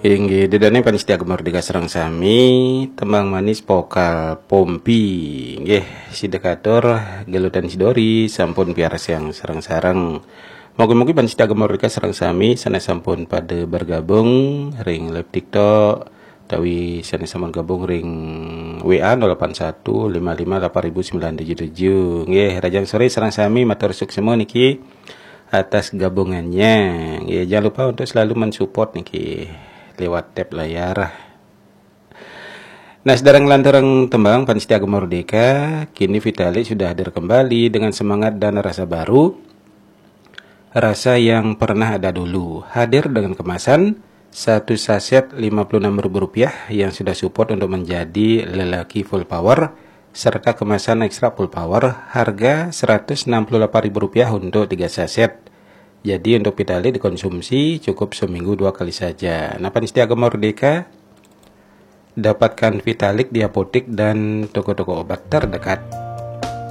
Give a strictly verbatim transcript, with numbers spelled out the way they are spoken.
Inggih, ida dané pamiarsa Gema Merdeka sareng sami, tembang manis vokal Pompi. Inggih, sida katur gelutan Sidori sampun piarsa sareng-sareng. Mugi-mugi pamiarsa Gema Merdeka sareng sami sané sampun pada bergabung ring live TikTok utawi sané sampun gabung ring W A nol delapan satu lima lima delapan ribu sembilan tujuh tujuh. Nggih, rahajeng soré sareng sami, matur suksma niki atas gabungannya. Nggih, jangan lupa untuk selalu mensupport niki lewat tab layar. Nah, sedaya nglanturang tembang pamiarsa Gema Merdeka, kini Vitalik sudah hadir kembali dengan semangat dan rasa baru. Rasa yang pernah ada dulu, hadir dengan kemasan satu saset lima puluh enam ribu rupiah yang sudah support untuk menjadi lelaki full power, serta kemasan ekstra full power harga seratus enam puluh delapan ribu rupiah untuk tiga saset. Jadi, untuk Vitalik dikonsumsi cukup seminggu dua kali saja. Nah, pamiarsa Gema Merdeka, dapatkan Vitalik di apotek dan toko-toko obat terdekat.